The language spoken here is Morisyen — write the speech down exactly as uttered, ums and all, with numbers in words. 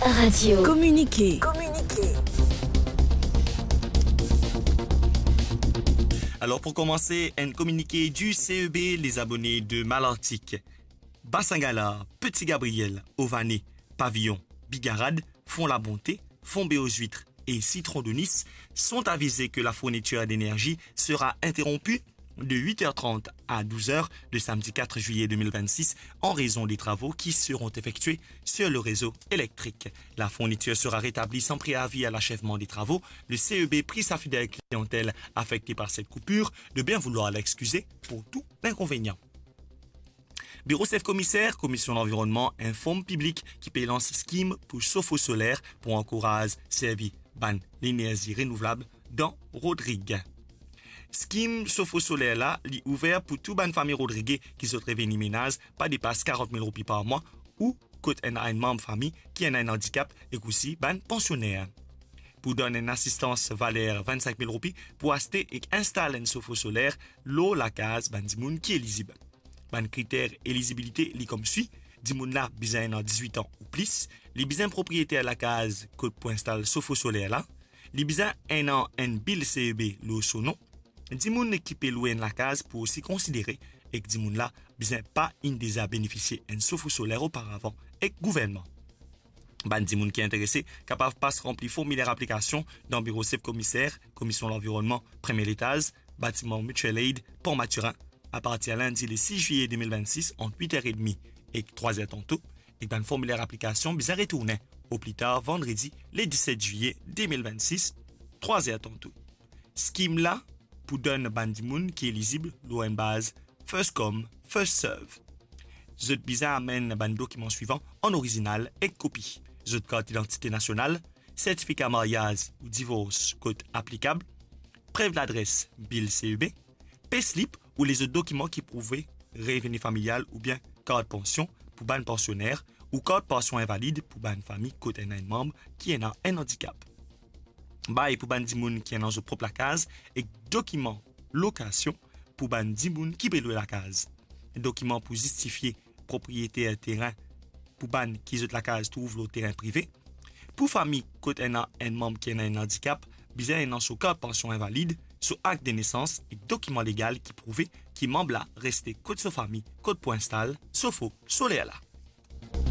Radio. Communiqué. Alors pour commencer, un communiqué du C E B, les abonnés de Malartic. Bassin Galar, Petit Gabriel, Ované, Pavillon, Bigarade, Fond la Bonté, Fond Béaux Huîtres et Citron de Nice sont avisés que la fourniture d'énergie sera interrompue de huit heures trente à douze heures de samedi quatre juillet deux mille vingt-six en raison des travaux qui seront effectués sur le réseau électrique. La fourniture sera rétablie sans préavis à l'achèvement des travaux. Le C E B prie sa fidèle clientèle affectée par cette coupure de bien vouloir l'excuser pour tout inconvénient. Biro Sef Komiser, Komisyon Lanvironnman, inform piblik ki pe lans skim pou sofo soler pou ankouraz servi bann lenerzi renouvlab dan Rodrig. Skim sofo soler la, li ouver pou tou bann fami Rodrige ki zot reveni menaz pa depas karant mil roupi par mwa ou kot ena enn manm fami ki ena enn andikap ek osi bann pansioner. Pou donn enn asistans valer vinn-sink mil roupi pou aste ek instal enn sofo soler lor lakaz bann dimoun ki elizib. Bann kriter elizibilite li koumsi: dimoun la bizin ena dizwit an ou plis, li bizin propriyeter lakaz kot pou instal sofo soler la, li bizin ena enn bil C E B lor so non, dimoun ki pe lwe enn lakaz pou osi konsidere, ek dimoun la bizin pa inn deza benefisie enn sofo soler oparavan ek gouvernman. Bann dimoun ki interese kapav pas ranpli formiler aplikasion dan biro sef komiser, Komisyon Lanvironnman, premie letaz, batiman Mutual Aid, Port Mathurin, apartir lindi le sis zwiye de mil vinn-sis ant wit er edmi ek trwa zer tanto, ek bann formiler aplikasion bizin retourne o pli tar vandredi le diset zwiye de mil vinn-sis, trwa zer tanto. Skim la pou donn bann dimoun ki elizib lor enn baz first come, first serve. Zot bizin amenn bann dokiman swivan an orizinal ek kopi: zot kart idantite nasional, sertifika maryaz ou divors kot aplikab, prev ladres, bil C E B, payslip ou lezot dokiman ki prouve reveni familial oubien kart pansion pou bann pansioner ou kart pansion invalid pou bann fami kot ena enn manm ki ena enn andikap. Bay pou bann dimoun ki ena zot prop lakaz ek dokiman lokasion pou bann dimoun ki pe lwe lakaz. Dokiman pou zistifie propriyeter terin pou bann ki zot lakaz trouv lor terin prive. Pou fami kot ena enn manm ki ena enn andikap, bizin ena so kart pansion invalid, so akt de nesans ek dokiman legal ki prouve ki manm la reste kot so fami kot pou instal sofo soler la.